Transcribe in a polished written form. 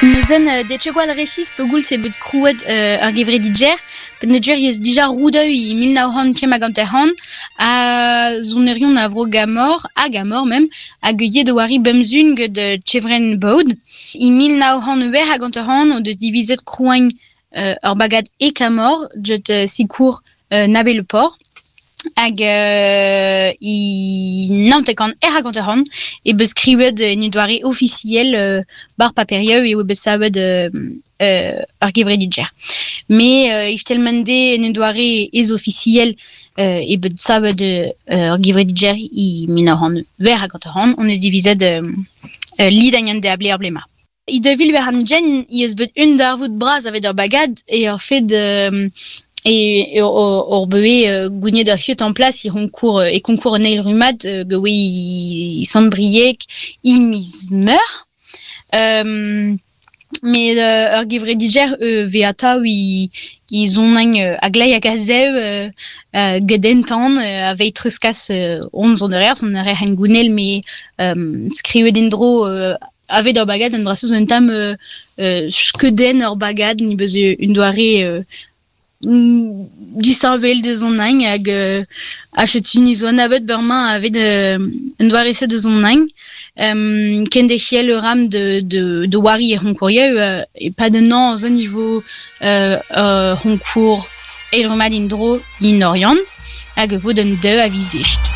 Neuzen det ket gwall resis pegoulz eo bet krouet ar gevredigezh peogwir ez dija roudoù e 1950 ha sonerion a vro Gamor ha Gamor mem hag ivez da oari bemzun get Chevren Baud. E 1958 o deus divizet krouañ ur bagad e Kamor get sikour Nabé Le Port. Hag e 90 er 50 e beus skrivet en un doare ofisiel bar paperioù eo bet savet ur gevredigezh. Me istelmende en un doare ez-ofisiel eo bet savet ur gevredigezh e 1958 hon eus divizet lidañ an deabl er blez-mañ. E 2020 ez eus bet un darvoud bras aveit ur bagad e ur fed e hor beue gouniet ur c'heut en plas e c'honkour e konkour an eil rummad gawe e Sant-Brieg e miz Meurzh. Met ur gevredigezh vez atav e zonañ a-gleiz hag a-zev get entan aveit treuzkas hon sonerezh, sonerezh hengounel met skrivet en-dro Aveit ur bagad un dra-se zo un tamm skeudenn ur bagad ni beus un doare disheñvel deus hon hini hag ha setu ni zo anavet bremañ aveit un doare-se deus hon hini. Kenderc'hel a ran da oari er c'honkourioù e-pad un hañv zo ni vo ur c'honkour eil rummad en-dro en Oriant hag e vo d'an daou a viz East.